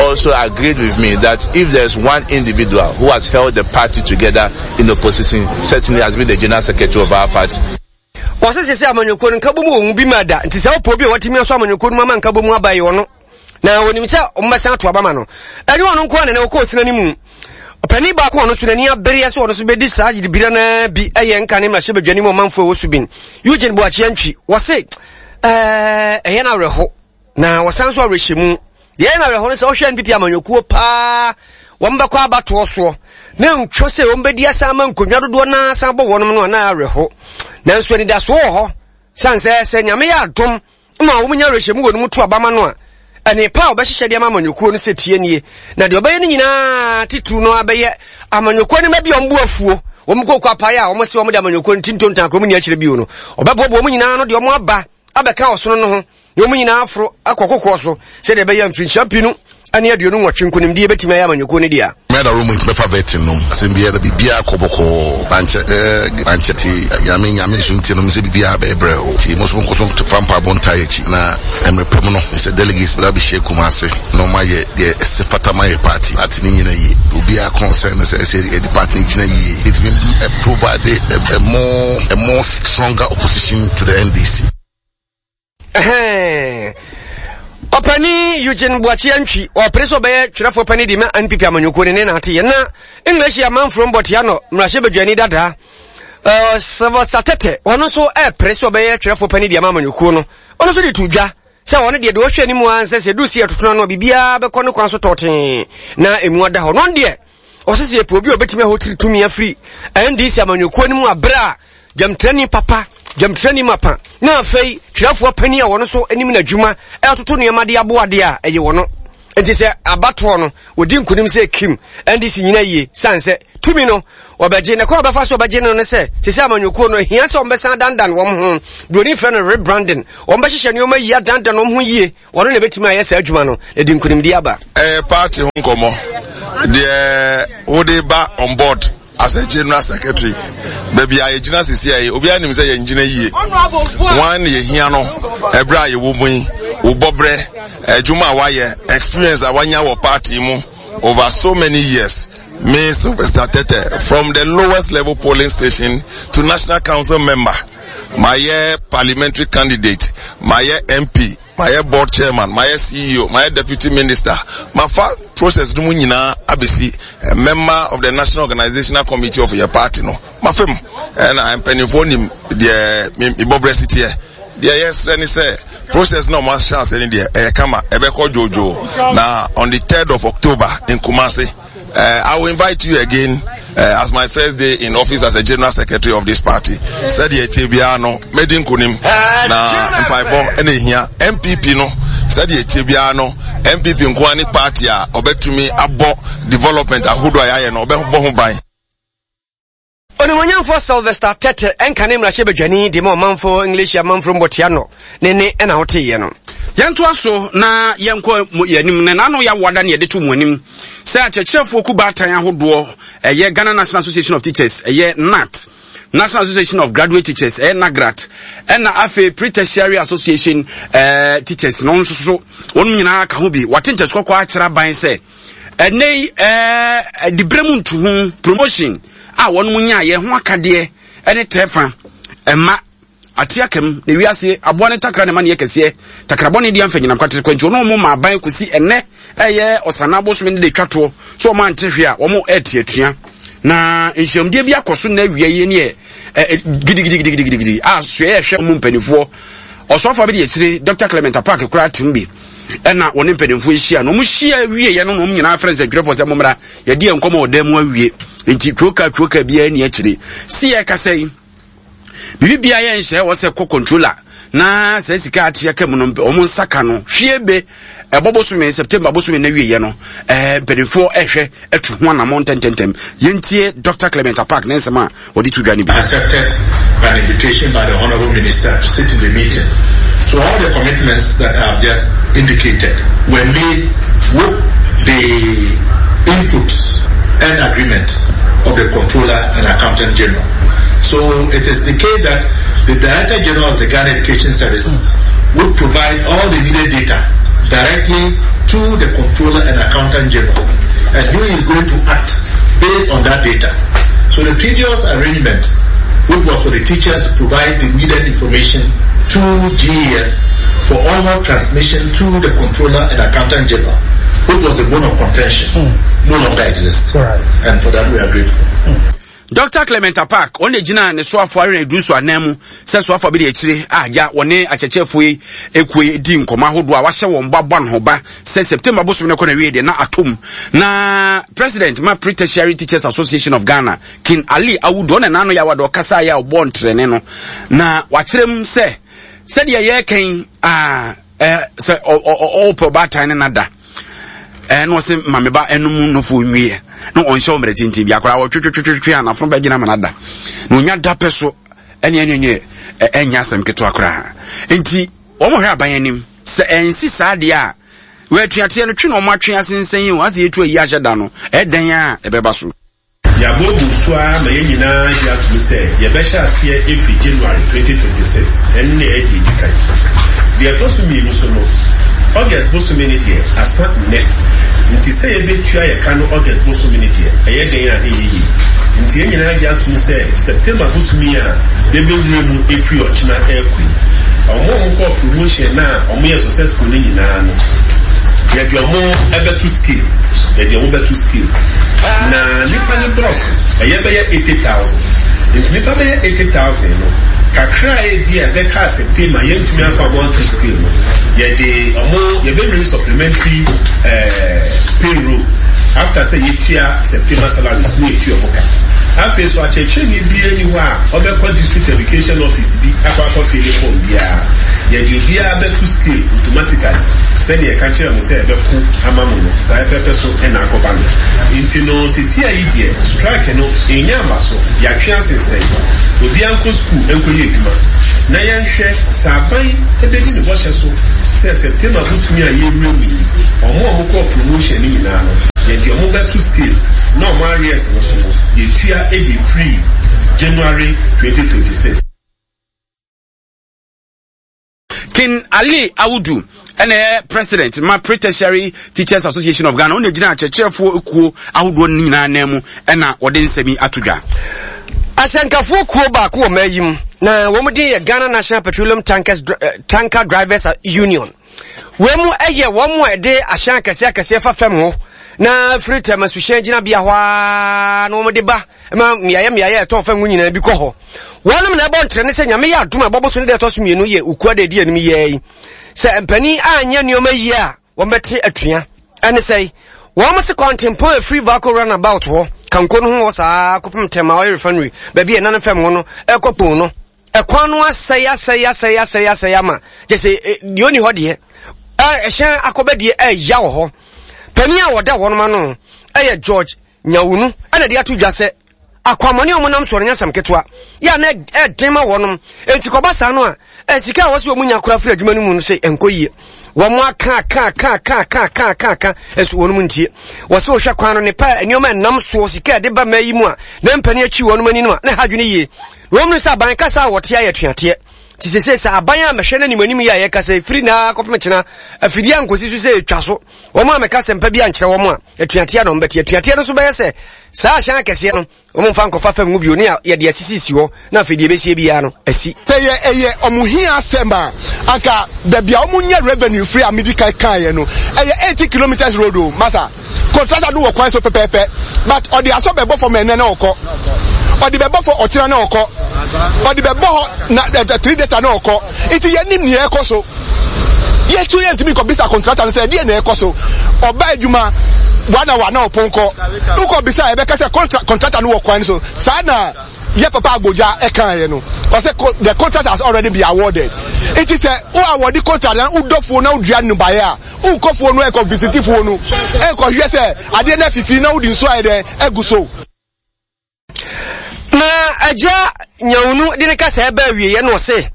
also agreed with me that if there's one individual who has held the party together in opposition, certainly has been the general secretary of our party. Wɔsɛ sɛ sɛ amanyɔkuo no nkabom wɔ mu bi ma da nti sɛ wopɔ bi a watumi aso amanyɔkuo no mu ama nkabom aba yi ɔno na wɔnim sɛ ɔmbɛsan ato aba ma no. Ɛne ɔno nko a nene wɔkɔɔ sina no mu. Ɔpanin baako a ɔno so n'ani abereɛ sɛ ɔno so bɛdi saa gyidibira no bi ɛyɛ nka ne mmarahyɛ badwani mu ɔmanfoɔ ɛwɔ Subin, Eugene Boakye Antwi. Wɔse ɛɛ ɛyɛ no awerɛho na wɔsan so awerɛhyɛ mu. Deɛ ɛyɛ no awerɛho no sɛ ɔhwɛ N P P amanyɔkuo paa, wɔn bɛkɔ abatoɔ soɔ na ntwo sɛ wɔn bɛdi asan ama nkonnwa dodoɔ naa san bɔ wɔnom no anaa awerɛho. Nanso anidasoɔ wɔ hɔ san sɛ sɛ Nyame yɛ adom ma wɔn nya awerɛhyɛ mu wɔ no mu to abama no a, ɛne pa a wɔbɛhyehyɛ de ama amanyɔkuo no sɛ tie nie. Na deɛ ɔbɛyɛ no nyinaa titiriw no abɛyɛ amanyɔkuo no ma bi a wɔn bu afuo, wɔn kɔkɔ apaeɛ a wɔn se wɔn de amanyɔkuo no ti ntontan kurom ni akyerɛ bio no, ɔbɛboaboa wɔn nyinaa no deɛ wɔn aba abɛka ɔsono no ho na wɔn nyinaa aforo akɔ kokoɔ so sɛdeɛ ɛbɛyɛ mfirinhyia mpinu ne aduonu nwɔtwe nkonimdie bɛtumi ayɛ amanyɔkuo no dea. Mɛda room nti bɛfa vetting no asɛm biara na biribiara kɔ bɔkɔɔ mankyɛ ɛɛ mankyɛ ti Nyame Nyame nso nti no sɛ biribiara bɛyɛ brɛ o ti mo nso mo nkɔ so fa mpaebɔ ntaa akyi na mmerɛ pɛ mu no sɛ delegates bɛda bɛhyia Kumase na ɔmo ayɛ deɛ ɛsɛ fata ma yɛ party party no nyina yie. Obiara concern no sɛ ɛsɛ yɛde party no gyina yie, ɛtumi provide a, a more a more stronger opposition to the N D C. Ɔpani Eugene Boakye Antwi ɔpere sɛ ɔbɛyɛ twerɛfoɔ pani de ma N P P amanyɔkuo ne ne naate yɛ. Na English amanfoɔ mbɔtea no mmarahyɛ badwani dadaa Sylvester Tete, ɔno nso ɛpere sɛ ɔbɛyɛ twerɛfoɔ pani de ama amanyɔkuo no. Ɔno nso de to dwa sɛ ɔno deɛ deɛ ɔhwɛ anim a sɛ sɛ du si ɛtotono no a, biribiara bɛkɔ ne kwan so tɔɔtee na emu ada hɔ. No deɛ ɔsɛ sɛ yɛpɛ obi a ɔbɛtumi ahotiri tumi afiri N D C amanyɔkuo no mu aberɛ a dwamtirani papa, dwamtirani mapa, na afei twerɛfoɔ panin a wɔno nso anim n'adwuma ɛtoto nneɛma de aboa adeɛ a ɛyɛ wɔno. Nti sɛ abatoɔ no wɔdi nkonim sɛ kim N D C nyina yie sane sɛ tumi no wɔbɛgye ne kwan a wɔbɛfa so wɔbɛgye no ne sɛ sɛ amanyɔkuo no ahia sɛ wɔbɛsan dandan wɔn ho. Buroni frɛ no rebranding. Wɔn bɛhyehyɛ nneɛma yie adandan wɔn ho yie. Wɔno na ɛbɛtumi ayɛ saa adwuma no na de nkonimdi aba. Ɛyɛ party ho nkɔmmɔ deɛ wode ba on board as a general secretary. Baabi a yɛgyina sisi a yi, obiara nim sɛ yɛn gyina yie wɔn na yɛhia no. Ɛberɛ a yɛwɔ mu yi, wo bɔberɛ adwuma a wayɛ, experience a wanya wɔ party mu over so many years. Me, Sylvester Tete, from the lowest level polling station to national council member, mayɛ parliamentary candidate, mayɛ M P. Mayɛ board chairman, mayɛ C E O, mayɛ deputy minister, mafa process no mu nyinaa abɛsi member of the National Organizational Committee of yɛ party no. Mafam ɛna mpanimfoɔ nim deɛ mebɔbrɛ si teɛ. Deɛ yɛsrɛ ne sɛ process na ɔmo ahyɛ ase ne deɛ ɛyɛ kama, ɛbɛkɔ dwoodwoo. Na on the third of October in Kumasi, uh, I will invite you again uh, as my first day in office as a general secretary of this party. Sɛdeɛ ɛtie biara no, mɛdi nkonim na mpaebɔ ɛna ehia N P P no. Sɛdeɛ ɛtie biara no, N P P nkoa ne party a ɔbɛtumi abɔ development ahodoɔ a yɛayɛ no, ɔbɛbɔ ho ban. Onimonyamfoɔ Sylvester Tete, ɛnka ne mmarahyɛ badwani de ma ɔmanfoɔ English amanforo mbɔtea no ne ne ɛna woteeɛ no. Yɛntoa so na yɛnkɔ yɛnim na n'ano yɛawoada ne yɛde to mu anim sɛ akyerɛkyerɛfoɔ ku baatan ahodoɔ, ɛyɛ Ghana National Association of Teachers, ɛyɛ G N A T, National Association of Graduate Teachers, ɛyɛ NAGRAT, ɛna afei Pre-Tertiary Association ɛɛ Teachers no nso so, wɔn nyinaa ka ho bi wate nkyɛn kɔkɔɔ akyerɛ aban sɛ ɛnɛ yi ɛɛ dibrɛ mu ntuhu promotion a wɔn mu nyaayɛ ho akadeɛ ɛne tɛɛfa ɛma ate akam na wiase aboa ne takra ne ma ne yɛ kɛseɛ takrabɔ ne deɛ mfa nyinam kwatere kwanti ɔno ɔmo ma aban kɔsi ɛnɛ ɛyɛ ɔsana bosome ne de twa toɔ so ɔmo ante hwee a wɔn ɛɛteatua. Na nhyiamdeɛ bi akɔ so na awia yi ne yɛ gidigidigidigidi a soɛ yɛhwɛ ɔmo mpanimfoɔ ɔsɔfo bi de akyire Doctor Clement Apaak koraa tem bi ɛna wɔne mpanimfoɔ ahyia na wɔn hyia wie yɛ no na wɔn nyinaa frɛ nsɛntwerɛfoɔ sɛ mommra, yɛde yɛn nkɔmɔ wɔ dan mu awie, nti tuoka tuoka biara ni akyire si yɛ kasa yi biribi biara yɛ nhyɛ wɔ sɛ kɔ controller na sɛ sika ate aka mu no, wɔn nsa ka no hwie be ɛbɔ bosome September bosome na wie yɛ no, ɛɛ mpanimfoɔ ɛhwɛ ɛtu ho anammɔ ntɛntɛntɛm. Yɛntie Doctor Clement Apaak ne nsɛm a wɔde to dwa no bi. Accepted an invitation by the Honorable Minister to sit in the meeting. So all the commitments that I have just indicated were made with the inputs and agreement of the Controller and Accountant General. So it is the case that the Director General of the Ghana Education Service would provide all the needed data directly to the Controller and Accountant General. And he is going to act based on that data. So the previous arrangement, which was for the teachers to provide the needed information to G E S for onward transmission to the Controller and Accountant General, which was the bone of contention, mm. no longer exists. Right. And for that we are grateful. Mm. Doctor Clement Apaak, ɔno gyina ne soafoɔ arena edu so anan mu sɛ soafoɔ bi de akyire a agya wɔne akyerɛkyerɛfoɔ yi ekuo yi di nkɔmɔ ahodoɔ a wahyɛ wɔn ba bɔ ne ho ba sɛ September bosom no kɔ na wie deɛ na atom. Na president ma Pre-Tertiary Teachers Association of Ghana, King Ali Awudu, ɔna n'ano yɛ awada ɔkasa yɛ a ɔbɔ ntrɛne no na wakyerɛ mu sɛ sɛdeɛ yɛreka a ɛɛ sɛ ɔɔpɛ ɔbaatan ne nada ɛɛ na ɔsɛ maame ba ɛnum nofo nwie na ɔnhyɛ wɔn mmerɛ tenten bi akwaraa wɔtwetwetwetwe a n'afono bɛgyina ama n'ada na onya da pɛ so ɛne ɛne ɛne ɛnyɛ asɛm ketewa koraa. Nti wɔn hwɛ aban anim sɛ ɛnsi saa deɛ a wɔatuateɛ no twe na wɔn atwe asensɛn yi o asɛ yɛtu ayi ahyɛ da no ɛdan a ɛbɛba so. Yɛabɔ gu so ara ma yɛn nyinaa gye atom sɛ yɛbɛhyɛ aseɛ ɛfiri January twenty twenty-six. Ɛno ne ɛyɛ deɛ ɛdi kan. Deɛ ɛtɔ so mmienu so no, August bosome no deɛ asa nnɛ, nti sɛ yɛbɛtua yɛ ka no August bosome no deɛ, ɛyɛ den a ɛnyɛ yie. Nti yɛn nyinaa gye atom sɛ September bosome a yɛbɛwura mu ɛfiri ɔkyena ɛrekɔ yi, ɔmo a ɔmo kɔɔ promotion na ɔmo yɛ successful no nyinaa no, yɛde ɔmo ɛbɛto scale, yɛde ɔmo bɛto scale. Na nipa no dɔɔso, ɛyɛ bɛyɛ eighty thousand. Nti nipa bɛyɛ eighty thousand no kakra a ebi a ɛbɛka September yɛntumi afa ɔmo ato scale no, yɛde ɔmo yɛbɛwiri supplementary ɛɛ payroll after sɛ yɛtua September salaries ne yɛtua ɔmo ka. Afei so, akyerɛkyerɛni bi ani hɔ a ɔbɛkɔ district education office bi akɔ akɔ fill form biara. Yɛde obiara bɛto scale automatically. Sɛdeɛ ɛka kyerɛ mo sɛ ɛbɛko ama mo no, saa ɛpɛpɛ so ɛna akɔba no. Nti no sisi a yi deɛ, strike no ɛnya aba so, yɛatwe asensɛn. Obiara nkɔ school nkɔyɛ adwuma na yɛnhwɛ sɛ aban ɛbɛdi ne bɔhyɛ so sɛ September bosome a yɛwura mu yi, ɔmo a ɔmo kɔɔ promotion no nyinaa no, yɛde ɔmo bɛto scale na ɔmo arrears no so no yɛtua ɛde firi January twenty twenty-six. King Ali Awudu ɛna ɛyɛ president ma Pre-Tertiary Teachers Association of Ghana. Ɔna gyina akyerɛkyerɛfoɔ ekuo ahodoɔ no nyinaa nan mu ɛna wɔde nsɛm yi ato dwa. Ahyɛnkafoɔ kuo baako wɔ mmaa yi mu na wɔn din yɛ Ghana National Petroleum Tankers, uh, Tanker Drivers Union. Wei mu yɛ wɔn a ɛde ahyɛn akɛseɛ akɛseɛ fa fam hɔ na firi Tema suhyɛn gyinabea hɔ ara na wɔde ba ma mmeaeɛ mmeaeɛ a ɛtɔn fam ho nyinaa bi kɔ hɔ. Wɔnom na ɛbɔ ntrɛne sɛ Nyame yɛ adom a ɛbɔ bosome da ɛtɔ so mmienu yɛ Ukua da ɛdi anim yi ara yi. Sɛ mpanin anyɛ nneɛma yie a, wɔbɛte atua. Ɛne sɛe, wɔn se kwantempɔn a ɛfiri Valco Runabout hɔ, Kanko no ho hɔ saa kɔpem Tema Oil Refinery, baabi a ɛnane fam hɔ no, ɛkɔ Kpong no, ɛkwan no asɛe asɛe asɛe asɛe asɛe ama kyɛ sɛ e, deɛ ɔni hɔ deɛ ɛhyɛn akɔbɛ deɛ ɛya wɔ hɔ. Panin a wɔda wɔnom ano ɛyɛ George Nyawunu ɛna de ato dwa sɛ akwammɔne a wɔnam soɔ no nyɛ asɛm ketewa yɛ a na ɛden ma wɔnom enti kɔba saa no a sika a wɔsɛ wɔn nya koraa firi adwuma no mu no sɛ ɛnkɔ yie. Wɔn aka aka aka aka aka aka aka aka nso wɔnom ntie. Wɔsɛ wɔhwɛ kwan no ne pa nneɛma ɛnam soɔ sika ɛde ba mmaa yi mu a na mpanin akyi wɔnom ani no a na ha adwene yie. Wɔn mu sɛ aban kasa a wɔte ayɛ tuateɛ. Ti sese sɛ aban a mɛhwɛ n'anim anim yi a yɛkasa firi na kɔpem kyena afidie a nkosi so sɛ ɛtwa so. Wɔn a mɛka sɛmpa bi ankyerɛ wɔn a atuateɛ na wɔn bɛte. Atuateɛ no nso bɛyɛ sɛ saa ahyɛn akɛseɛ no wɔn mfa nkɔfa fam ngu bio ne yɛde asisisi hɔ na afei deɛ ɛbɛsie biara no asi. Sɛ yɛ ɛyɛ ɔmo hia asɛm a, anka baabi a ɔmo nya revenue firi a medi kan kaeɛ no, ɛyɛ eighty kilometres road o, masa. Contractor no wɔ kwan so pɛpɛɛpɛ, but ɔde asɔ bɛbɔ fam ɛnnɛ na ɔkɔ, ɔde bɛbɔ fam ɔkyena na ɔkɔ, ɔde bɛbɔ hɔ na eh, three days na ɔkɔ. Nti yɛnim nea ɛkɔ so. Yɛtu yɛntumi nkɔ bisa contractor no sɛ ɛdeɛ na ɛkɔ so. Ɔba adwuma one hour na ɔpon kɔ. Wokɔ bisa a ɛbɛka sɛ contractor no wɔ kwan so. Saa na yɛ papa Agbogya ɛkaeɛ no. Ɔsɛ the contract has already been awarded. Nti sɛ wo award contract na wodɔ fuo na wodua nnɔbaeɛ a, wokɔ fuo no ɛkɔ visiti fuo no ɛkɔ hwɛ sɛ adeɛ no afifi na wode nsuo ayɛ dɛn agu so. Na agya Nyawunu de ne kasa ɛbɛ awieɛ no ɔse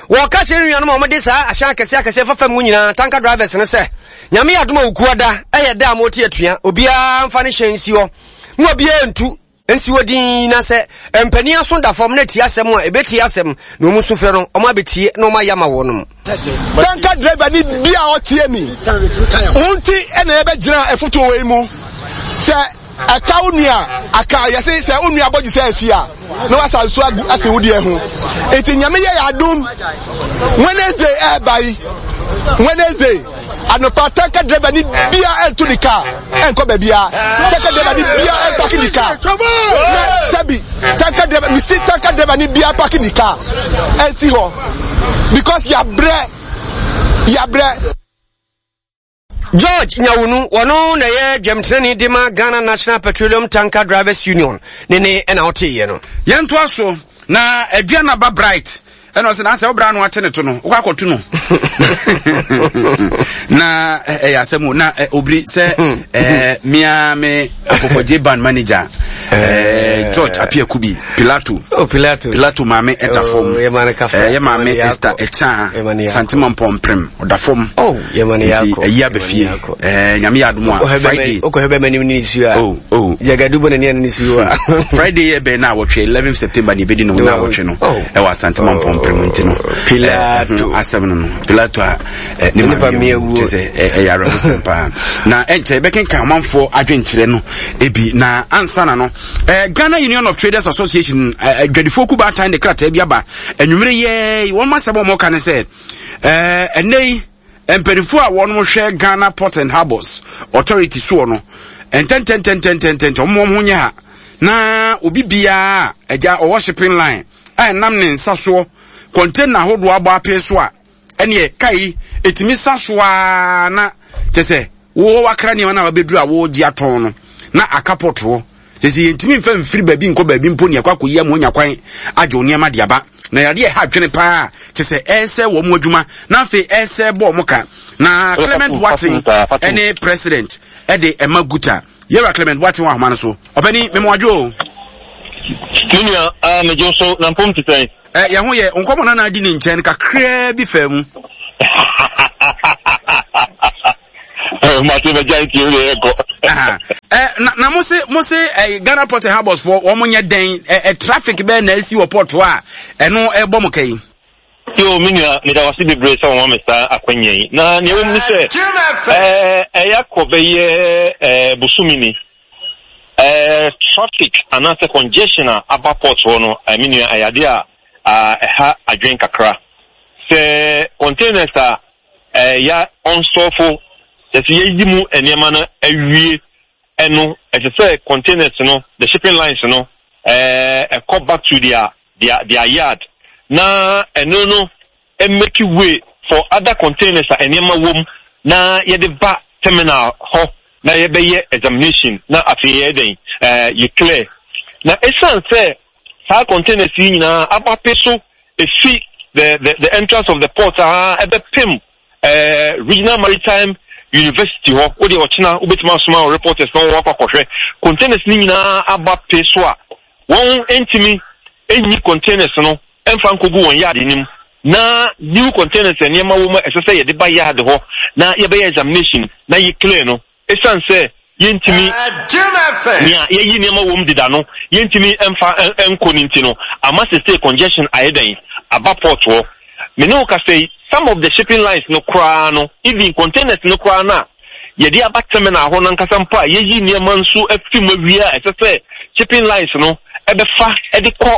wɔka kyerɛ ne nuanom a wɔde saa ahyɛn akɛseɛ akɛseɛ fa fam nyinaa tanka drivers no sɛ Nyame yɛ adom a Wukuada ɛyɛ da a mote atua obiara mfa ne hyɛn nsi hɔ mo obiara ntu nsi hɔ din na sɛ mpanin aso da fam na tie asɛm a ɛbɛtie asɛm na wɔn su frɛ no wɔn abɛtie na wɔn ayɛ ama wɔnom. Tanka driver ni bi a ɔtie mi wo nti ɛna yɛbɛgyina afotuo wei mu sɛ ɛka wo nua aka yɛse sɛ wo nua bɔgye sɛ asi a na wasa nso agu asi wo deɛ ho nti Nyame yɛ yɛ adom Wednesday ɛɛba yi Wednesday anɔpa tanka driver ni bia ɛnto ne kaa ɛnkɔ baabia tanka driver ni bia ɛmpaki ne kaa na sɛbi tanka driver misi tanka driver ni bia paki ne kaa ɛnsi hɔ because yabrɛ yabrɛ. George Nyawunu, wɔno na ɛyɛ dwamtenani de ma Ghana National Petroleum Tanker Drivers Union ne ne ɛna ɔteeɛ no. Yɛntoa so na Aduanaba Bright ɛna ɔsɛ n'asɛ ɔbra no ate ne to no wokɔ akɔto no na ɛyɛ asɛm o na obiri sɛ ɛɛ mia me akɔkɔgye band manager ɛɛ George Apiakubi Pilato oh Pilato Pilato maame ɛda fam oh, ɛyɛ maame Esther Ɛkyan Santima Mpɔmprem ɔda fam oh nti ɛyi abɛfie ɛɛ nyame yɛ adom a Friday okɔhwɛ bɛma nim ne nsuo a oh oh yagadu bɔ n'ani ne nsuo a Friday yɛ bɛn na awɔtwe eleven September na ebedi no na awɔtwe no ɛwɔ Asantema Mpɔmprem nti no Pilato asɛm no no Pilato a ne maame awu kyɛ sɛ ɛyɛ awerɛhosɛm paa na ɛnkyɛ yɛbɛkenkan ɔmanfoɔ adwenkyerɛ no ebi na ansa na no Ghana Union of Traders Association adwadifoɔ kubaatan de krataa bi aba anwummere yɛ wɔn asɛm a wɔka ne sɛ ɛnɛ yi mpanimfoɔ a wɔn hwɛ Ghana Port and Harbours Authority soɔ no ntɛntɛntɛntɛntɛntɛn wɔn wɔn ho nyɛ ha na obi biara agya ɔwɔ shipping line a ɛnam ne nsa soɔ container ahodoɔ abɔ apee so a ɛneɛ kai ɛtumi sa so a na kyɛ sɛ wowɔ wakra nneɛma no a wabɛduru a wɔregye atɔn no na aka port hɔ sɛ sɛ yɛntumi mfa mfiri baabi nkɔ baabi mpo ne ɛkɔ akɔyi ama onya kwan agye wo nneɛma de aba na yadeɛ ɛha adwene paa kyɛ sɛ ɛresɛ wɔn adwuma na afei ɛresɛ bɔ wɔn ka na Clement Boateng ɛne president ɛde ɛma guta yɛwura Clement Boateng wɔ ahoma no so ɔpɛni mɛmɔadwo o. Me nua, ah, megye wo so, na mpom te sɛn? Ɛ yɛn ho yɛ nkɔmɔ na na di ne nkyɛn kakraa bi faa mu. Mate bɛgya ntie wo yɛ kɔ. Ɛ na na mo se mo se ɛ Ghana Port and Harbours foɔ wɔn nyɛ dɛn ɛ ɛ traffic bɛɛ na esi wɔ port hɔ a ɛno ɛbɔ mo kɛyi. Yo, me nua, meda wase bebree sɛ wɔma me saa akwanya yi. Na nea ɛwɔ mu ne sɛ, ɛɛ ɛyɛ akɔ bɛyɛ ɛɛ bosome ni. Ɛɛ traffic anaasɛ congestion a aba port hɔ no, ɛɛ me nua, ɛyɛ adeɛ a ɛha adwene kakra. Sɛ containers a eh, ya ɔnsɔfo kyɛ sɛ yɛyi mu nneɛma no awie ɛno ɛsɛ sɛ containers no the shipping lines no ɛɛ ɛkɔ back to their their their yard na ɛno no make way for other containers a nneɛma wɔ mu na yɛde ba terminal hɔ na yɛbɛyɛ examination na afei yɛ dɛn ɛɛ yɛ clear na esan sɛ saa containers yi nyinaa abape so efi the the the entrance of the port a ɛbɛpem ɛɛ regional maritime university hɔ o deɛ ɔkyena wobɛtumi asoma reporters na wɔn akɔ akɔhwɛ containers ne nyinaa aba pe so a wɔn ntumi enyi containers no ɛnfa nkogu wɔn yard nim na new containers nneɛma wɔ mu ɛsɛ sɛ yɛde ba yard hɔ na yɛbɛyɛ examination na yɛ clear no esan sɛ yɛntumi nea yɛyi nneɛma wɔ mu deda no yɛntumi ɛnfa ɛnkɔ ne nti no ama sese congestion ayɛ dɛn aba port hɔ mene wo kasa yi some of the shipping lines no koraa no even containers no koraa no a yɛde aba terminal hɔ nankasa mpo a yɛyi nneɛma nso afi mu awie a ɛsɛ sɛ shipping lines no ɛbɛfa ɛde kɔ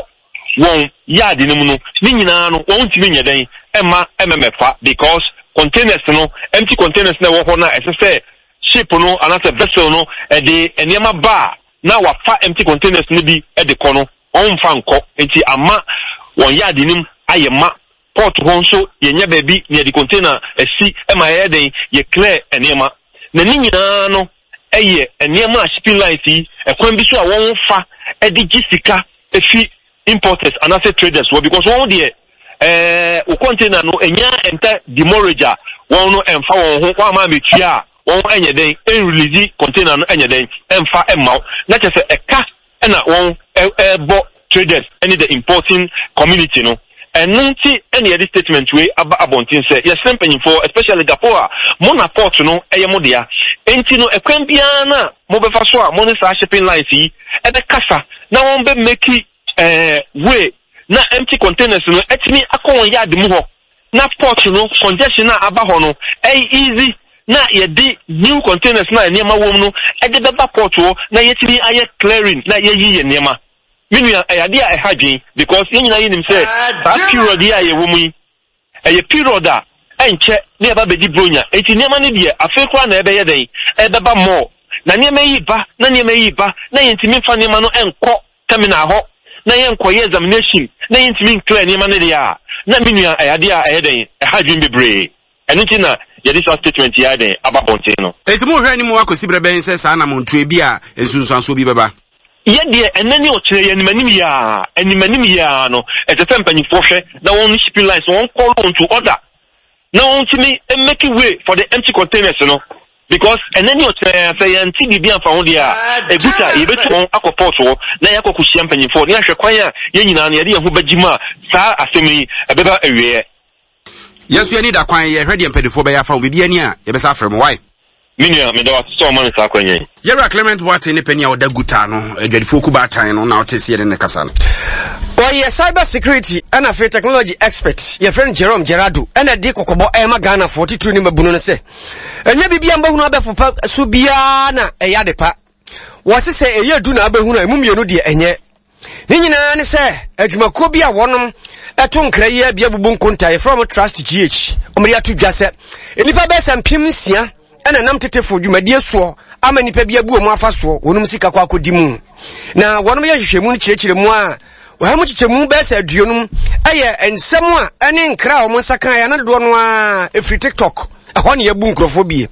wɔn yard no mu no ne nyinaa no wɔn ntumi nyɛ dɛn ɛma ɛmɛmɛfa because containers no empty containers na ɛwɔ hɔ no a ɛsɛ sɛ ship no anaasɛ vessel no ɛde nneɛma ba a na wafa empty containers no bi ɛde kɔ no wɔn mfa nkɔ nti ama wɔn yard no mu ayɛ ma port hɔ nso yɛnyɛ baabi na yɛde container asi ɛma yɛyɛ den yɛ clear nneɛma na ne nyinaa no ɛyɛ nneɛma a shipping lines yi ɛkwan bi so a wɔn fa ɛde gye sika efi importers anaasɛ traders wɔ because wɔn deɛ ɛɛ o container no enya enter demurrage a wɔn no ɛnfa wɔn ho wɔn ama ametua a wɔn ɛnyɛ den ɛnrelease container no ɛnyɛ den ɛnfa ɛmma wo na kyerɛ sɛ ɛka ɛna wɔn ɛɛbɔ traders ɛne the importing community no ɛno nti ɛna yɛde statement wei aba abɔnten sɛ yɛsrɛ mpanyinfoɔ especially GAPOA mo na port no ɛyɛ mo dea nti no ɛkwan biara na mobɛfa so a mo ne saa shipping lines yi ɛbɛkasa na wɔn bɛ make ɛɛ way na empty containers no ɛtumi akɔ wɔn yard mu hɔ na port no congestion a aba hɔ no ɛyɛ easy na yɛde new containers na nneɛma wɔ mu no ɛde bɛba port hɔ na yɛtumi ayɛ clearing na yɛyi yɛ nneɛma me nua ɛyɛ adeɛ a ɛha dwen because yɛn nyinaa yɛnim sɛ saa period yi a yɛwɔ mu yi ɛyɛ period a ɛnkyɛ ne yɛba bɛdi bronya eti nneɛma no deɛ afei koraa na ɛbɛyɛ dɛn ɛbɛba mɔɔ na nneɛma yi ba na nneɛma yi ba na yɛntumi nfa nneɛma no ɛnkɔ terminal hɔ na yɛnkɔyɛ examination na yɛntumi nclear nneɛma no deɛ a na me nua ɛyɛ adeɛ a ɛyɛ dɛn ɛha dwen bebree ɛno nti na yɛde saa statement yi ayɛ dɛn aba bɔnten no. eti mo hwɛ anim akɔsi berɛ bɛn sɛ saa anamontuo bi a nsunsuansoɔ bi bɛba. yɛ deɛ ɛnɛ ne ɔkyerɛ yɛ animanim yia animanim yia no ɛsɛ sɛ mpanyinfoɔ hwɛ na wɔn shipping lines wɔn call wɔn to order na wɔn tumi make way for the empty containers no because ɛnɛ ne ɔkyerɛ sɛ yɛn ti biribi anfa ho deɛ a eguta yɛbɛtu wɔn akɔ port hɔ na yɛakɔ kɔhyia mpanyinfoɔ ne ahwɛ kwan a yɛn nyinaa no yɛde yɛn ho bɛgye mu a saa asɛm yi ɛbɛba awieɛ. yɛn nso yɛni da kwan yɛhwɛ deɛ mpanimfoɔ bɛyɛ afa ho biribi ani a yɛbɛsa afrɛ mo wae. me nua meda wa sɛ ɔma me saa akwannya yi. yɛwura Clement Boateng ne panyin a ɔda guta no adwadifoɔ kubaatan no na ɔte sɛ yɛne ne kasa no. ɔyɛ cyber security ɛna afei technology expert yɛfrɛ no Jerome Gerardo ɛna de kɔkɔbɔ ɛma Ghanafoɔ titiri ne mabunu no sɛ ɛnyɛ biribia mbɛhunu abɛfopa so biara na ɛyɛ ade pa wɔse sɛ ɛyɛ du na abɛhunu a ɛmu mmienu deɛ ɛnyɛ ne nyinaa ne sɛ adwumakuo bi a wɔnom ɛto nkra yi abia bubu nkonta yɛfrɛ wɔn Trust GH wɔde ato dwa sɛ nnipa bɛyɛ sɛ mpem nsia ɛna nam tetefo dwumadie soɔ ama nnipa bi abu wɔn afa soɔ wɔnom sika kɔ akɔdi mu na wɔnom yɛ nhwehwɛmu no kyerɛkyerɛ mu a wɔha mu kyekyɛmu bɛyɛ sɛ aduonum ɛyɛ nsɛm a ɛne nkra a wɔn nsa kan yɛ dodoɔ no a ɛfiri TikTok ɛhɔ ne yɛbu nkurɔfoɔ bie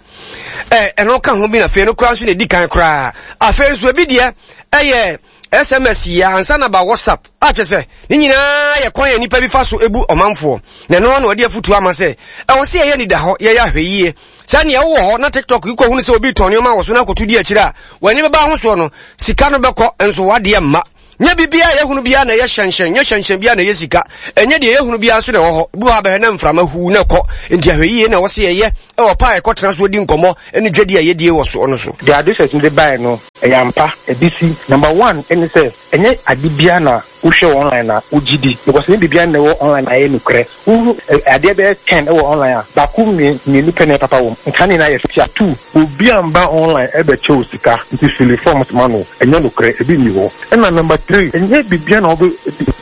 ɛ ɛno ka ho bi na afei no koraa nso na ɛdi kan koraa afei nso ebi deɛ ɛyɛ SMS yi ansa na ba WhatsApp a kyerɛ sɛ ne nyinaa yɛ kwan yɛ nipa bi fa so ebu ɔmanfoɔ na ɛno na ɔde afutuo ama sɛ ɛwɔ sɛ yɛyɛ nida hɔ yɛyɛ ahwɛ yie sɛ nea wowɔ hɔ na TikTok yi kɔhunu sɛ obi tɔn nneɛma wɔ so na akɔto di akyire a w'ani bɛba ahosoɔ no sika no bɛkɔ nso wadeɛ mma nyɛ biribiara yɛhunu biara na ɛyɛ hyɛnhyɛn nyɛ hyɛnhyɛn biara na ɛyɛ sika ɛnyɛ deɛ yɛhunu biara nso na ɛwɔ hɔ bi wɔ abɛhwɛ na mframa huu na ɛkɔ nti ahwɛ yie na ɛwɔ sɛ yɛyɛ ɛwɔ pa a ɛkɔtena so di nkɔmmɔ ne dwadi a yɛdie wɔ soɔ no so. Deɛ research no de baeɛ no ɛyɛ ampa ebi si number one ɛne sɛ ɛnyɛ ade biara na wohwɛ online na wogye di because ne biribiara na ɛwɔ online ayɛ nokorɛ wohu adeɛ bɛyɛ ten ɛwɔ online a baako mmienu pɛ na ɛpapa wɔ mu nka ne nyinaa yɛ tia two obi amba online ɛbɛkyɛ wo sika nti fill forms ma no ɛnyɛ nokorɛ ebi nni hɔ ɛna number three ɛnyɛ biribiara na wɔbɛ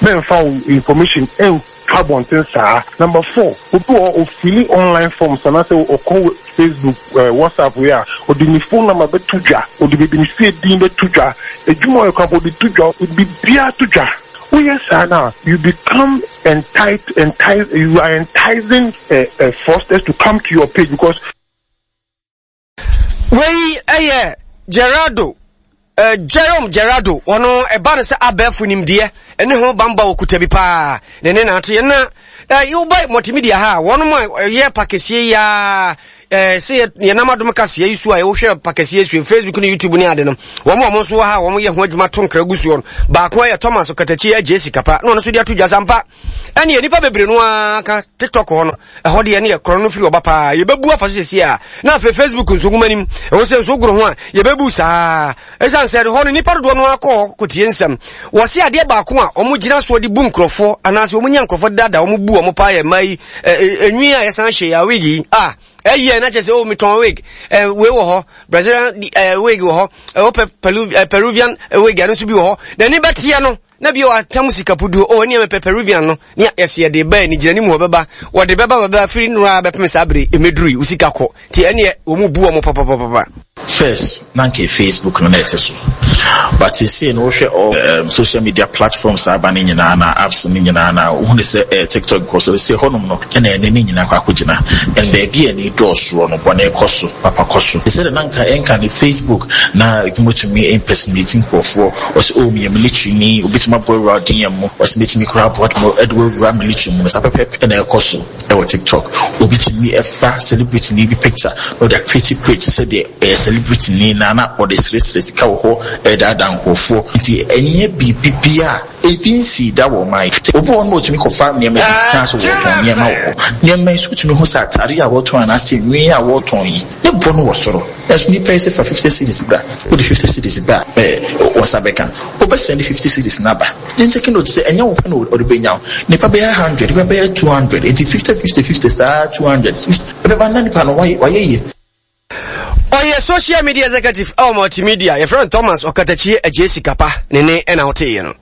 mɛnfa wo information ɛn to abɔnten saa. Number four, obi wɔ hɔ ɔfill online forms anaasɛ ɔkɔ Facebook, eh, WhatsApp wei a, ɔde ne phone number bɛto dwa, ɔde baabi ne fie din bɛto dwa, adwuma ɔyɛ kora ɔde to dwa, ɔde biribiara to dwa. Woyɛ saa no a, you become entice, entice, you are enticing uh, uh, fraudsters to come to your page because Wei ɛyɛ Gerardo, uh, Jerome Gerardo. Ɔno ɛba no sɛ abɛɛfo nimdeɛ ɛne ho bamba okuta bi paa ne ne naate na uh, woba multimedia ha a, wɔnom a ɛyɛ pakɛseɛ yi a eh, sɛ yɛnam adom kaseɛ yi so a yɛwohwɛ pakɛseɛ so Facebook ne YouTube ne ade no, wɔn a wɔn nso wɔ ha a wɔn yɛ ho adwuma to nkra gu soɔ no, baako yɛ Thomas Katakyi agye sika pa na ɔno nso de ato dwa sampa. Ɛne nnipa bebree no ara ka TikTok hɔ no, ɛhɔ deɛ ne yɛ korɔ no firi ɔba paa, yɛbɛbu afa so sɛsie a, na afei Facebook nso nwoma nim ɛwɔ sɛ nso goro ho a yɛbɛbu saa, ɛsiane sɛ hɔ no nnipa dodoɔ no akɔ hɔ kɔtie nsɛm. Wɔse adeɛ baako a wɔn gyina soɔ de bu nkurɔfoɔ anaasɛ wɔn nya nkurɔfoɔ dada wɔn bu wɔn paa yɛ mmaa yi enwi a yɛsan hyɛ yɛ wig yi a ɛyɛ na kyerɛ sɛ oh, metɔn wig, ɛ wei wɔ hɔ, Brazilian ɛ wig wɔ hɔ, ɛwɔ Peruvian wig, ɛno nso bi wɔ hɔ, n'ani bɛteɛ no na bi wɔ atam sika puduo o, ɛne mepɛ Peruvian no ne yɛsɛ yɛde ba ani gyina ne mu hɔ bɛba, wɔde bɛba bɛba firi nnora bɛpem saa bere ɛmɛduru yi wo sika kɔ, nti ɛneɛ wɔn mu bu wɔn papapapa. First, na nka Facebook no na ɛte so, but seesei no wohwɛ all um, social media platforms aba no nyinaa na apps no nyinaa na wohu ne sɛ eh, TikTok kɔ so sɛ hɔnom no ɛna ɛne ne nyinaa kɔ akɔgyina, and baabi a ani dɔɔsoɔ no, bɔne kɔ so, papa kɔ so. Sɛ de na nka ɛnka ne Facebook na ebi impersonate nkurɔfoɔ, ɔsɛ oh, meyɛ military ni, obitumi abɔ awura ɔden mu, ɔsɛ metumi koraa aboa ɛde wawura military mu no, saa pɛpɛpɛ ɛna ɛkɔ so ɛwɔ TikTok. Obi tumi ɛfa celebrity ni bi picture na ɔde acreate page sɛdeɛ ɛyɛ celebrity ni na na ɔde seresere sika wɔ hɔ, ɛdaadaa nkurɔfoɔ. Nti ɛnyɛ biribi bia ebi nsi da wɔ ɔman yi. Obi wɔ hɔ no, otumi kɔfa nneɛma bi kan so wɔtɔn nneɛma wɔ hɔ. Nneɛma yi so tumi ho sɛ atare a wɔtɔn anaasɛ nwi a wɔtɔn yi ne bɔ no wɔ soro, ɛso nipa yi sɛ fa fifty cedis bra, wode fifty cedis bra, ɛɛ wɔsa bɛka wobɛsɛn de fifty cedis n'aba. Gyɛnkyɛn note sɛ ɛnyɛ wo pɛ na ɔde bɛnya wo, nipa bɛyɛ hundred, nipa bɛyɛ two hundred, eti fifty fifty fifty saa two hundred ɛbɛba na nipa no wayɛ wayɛ yie. Ɔyɛ social media executive ɛwɔ multimedia, yɛfrɛ no Thomas Ɔkatakyie agye sika pa ne ne ɛna woteeɛ no.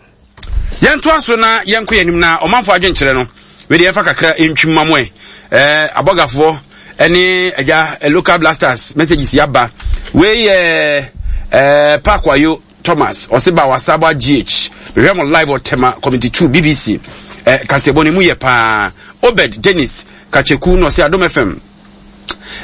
Yɛntoa so na yɛnkɔ yɛn anim na ɔmanfo adwenkyerɛ no wede yɛmfa kakra ntwim ma mo ɛ ɛɛ abɔgafoɔ ɛne agya local blasters messages yaba. Wei yɛ ɛɛ Parkwayo Thomas, ɔse ba Wasaba G H, mehwɛ mo live wɔ Tema Community two B B C. ɛ kaseɛbɔ no mu yɛ paa. Obed Dennis Kacheku na ɔse Adom F M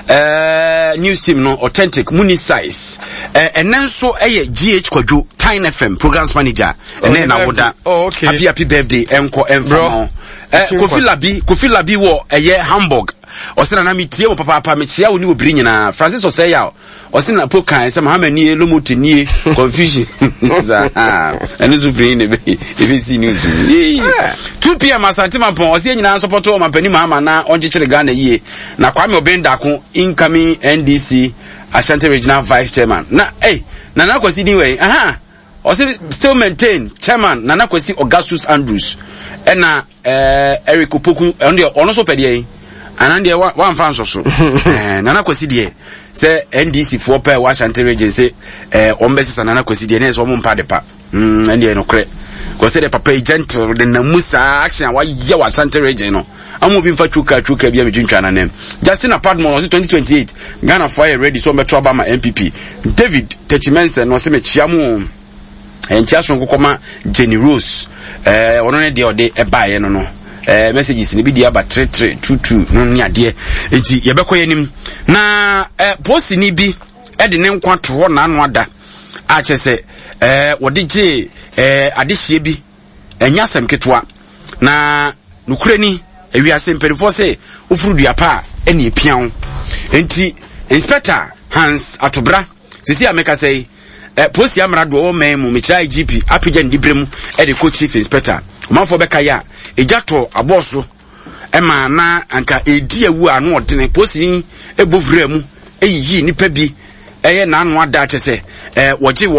uh, news team no authentic muni size. Ɛnɛ uh, nso ɛyɛ G H Kwadwo, Tine F M programs manager, ɛnɛ na woda. Oh, okay. Happy happy birthday ɛnkɔ ɛnfa ma uh, Kofi Labi, Kofi Labi wɔ ɛyɛ Hamburg, ɔsɛ nana metie mo papaapa, mekyia wo ne obiri nyinaa. Francis ɔsɛ yaw, ɔsɛ na po kan sɛ Mahama nie, Lomote nie, confusion ɛno nso firi ne ɛbɛsi news. two p m. Asante Mampɔn, ɔsɛ nyinaa nsɔpɔtɔ ɔmampani Mahama na ɔnkyekyere Ghana yie. Na Kwame Ɔbɛn Dako, incoming N D C Ashanti Regional Vice Chairman, na hey, Nana Kwasi din wei aha, ɔsɛ still maintain chairman Nana Kwasi Augustus Andrews. Ɛna ɛɛ Eric Opoku, ɛno deɛ ɔno nso pɛ deɛ yi anan deɛ wamfa nsɔ so. ɛɛ Nana Kwasi deɛ sɛ N D C foɔ pɛ wɔ Ashanti Region sɛ ɛɛ wɔn bɛ sisa Nana Kwasi deɛ ne yɛ sɛ wɔn mpa de pa mm ɛn deɛ nokorɛ kɔsɛ deɛ papa yi gentle de nam mu saa action a wayɛ wɔ Ashanti Region no ama obi nfa twuka twuka bi a metwintwa n'anim. Justin Apadmon ɔsɛ twenty twenty-eight Ghana foɔ ayɛ ready sɛ ɔmbɛto aba ma N P P. David Techimense na ɔsɛ mekyia mu, nkyia sononko kɔma Jenny Rose. ɛɛ ɔno ne deɛ ɔde ɛbaeɛ no no ɛɛ messages ne bi di aba three three two two no ne adeɛ, nti yɛbɛkɔ yɛn anim na ɛɛ posini bi ɛde ne nkwa to hɔ n'ano ada a kyerɛ sɛ ɛɛ wɔde gye ɛɛ adehyeɛ bi, ɛnyɛ asɛm ketewa. Na nokorɛ ni, ewiase mpanimfoɔ sɛ wofuru dua pa a ɛne epia wo, nti Inspector Hans Atobra sisi a meka sɛ yi ɛ polisi amara doɔ wɔ mɛn mu, mekyerɛ I G P apagya ne dibrɛ mu ɛde kɔ chief inspector. Ɔmanfoɔ bɛka yɛ a egya tɔ abɔɔ so ɛma na anka edi awu a ano ɔdene, polisi ɛbɔ wura mu ɛyiyi nipa bi ɛyɛ n'ano ada kyɛ sɛ ɛɛ wɔgye wɔ